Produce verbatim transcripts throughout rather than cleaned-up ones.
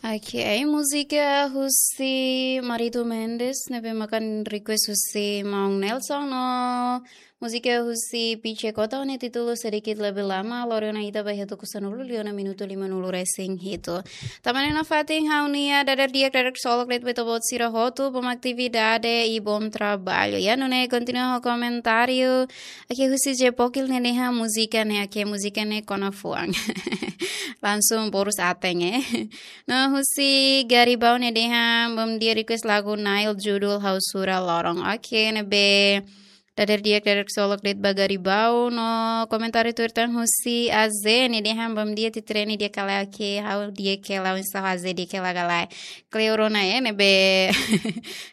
Oke, ai múzika husi Maritu Mendes, ne'ebé maka request husi Maun Nelson no múzika husi Piche Kota ho nia títulu Sedikit Lebih Lama, lori ona ita ba iha tuku sanulu liu ona minutu limanulu resin hitu. Tanba ne'e nafatin ha'u-nia dadeer di'ak, dadeer ksolok de'it ba ita-boot sira hotu, bom atividade i bom trabalho. Ya, nune'e kontinua ho komentáriu. Oke, husi Jepokil ne'e dehan múzika ne'e, oke, múzika ne'e kona fuan. Langsung boru aten, eh. No husi Garibau ne'e dehan, bom dia, request lagu Nail judul Ha'u Sura Lorong. Oke, ne'ebé dadeer di'ak, dadeer ksolok de'it ba Garibau. No komentáriu tuir tan husi Aze ne'e dehan, bom dia, Titreni di'ak ka lae? Oke, ha'u di'ak hela, oinsá ho Aze, di'ak hela ka lae? Kleur ona, eh, ne'ebé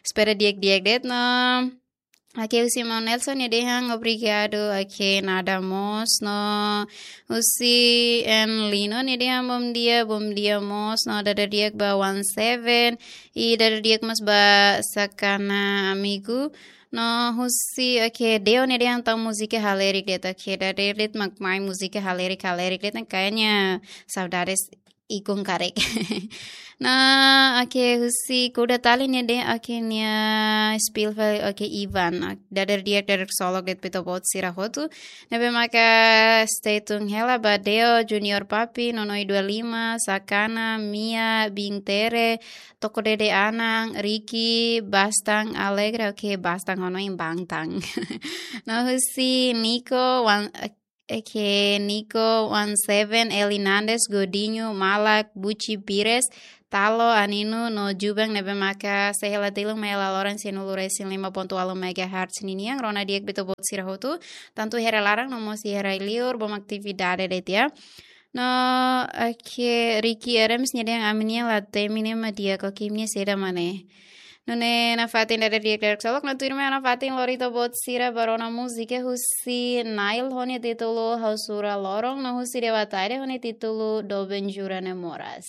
espera di'ak-di'ak de'it no. Oke, husi Maun Nelson ne'e dehan obrigadu, oke, nada mós, no husi N Lino ne'e dehan bom dia, bom dia mós, no dadeer di'ak ba One Seven, i dadeer di'ak mós ba Sakana amigu, no husi, oke, Deo ne'e dehan tau múzika halerik de'it, oke, dadeer de'it mak mai múzika halerik, halerik de'it, kayaknya saudades ikun karik. No, oke, husi Kuda Tali ne'e dehan, oke, nia Spielfeld, oke, Ivan. Dadeer di'ak, dadeer ksolok de'it ba ita-boot sira hotu. Ne'ebé maka stay tune hela ba Deo, Junior Papi, Nonoi dua lima, Sakana, Mia, Bintere, Toko Dede Anang, Ricky, Bastang, Alegra, oke, Bastang ho noin Bangtang. No husi Nico, Wan, oke, Nico, One Seven, Eli Nandes, Godinho, Malak, Buci Pires, Talo, Aninu, no Jubang ne'ebé maka sei hela tilun mai hela loron sianulu resin lima pontu ualu megahertz ninian, rona di'ak ba ita-boot sira hotu, tantu iha rai laran no mós iha rai liur, bom atividade de'it ya. No, oke, Ricky Erems ne'e dehan ami-nian la temi ne'e mak di'ak, oke, ami-nian saida mak ne'e. Nune'e nafatin dadeer di'ak, dadeer ksolok, no tuirmai nafatin lori ita-boot sira ba rona múzika husi Nail ho nia títulu Ha'u Sura Lorong, no husi Dewataire ho nia títulu Doben Jura Ne'e Moras.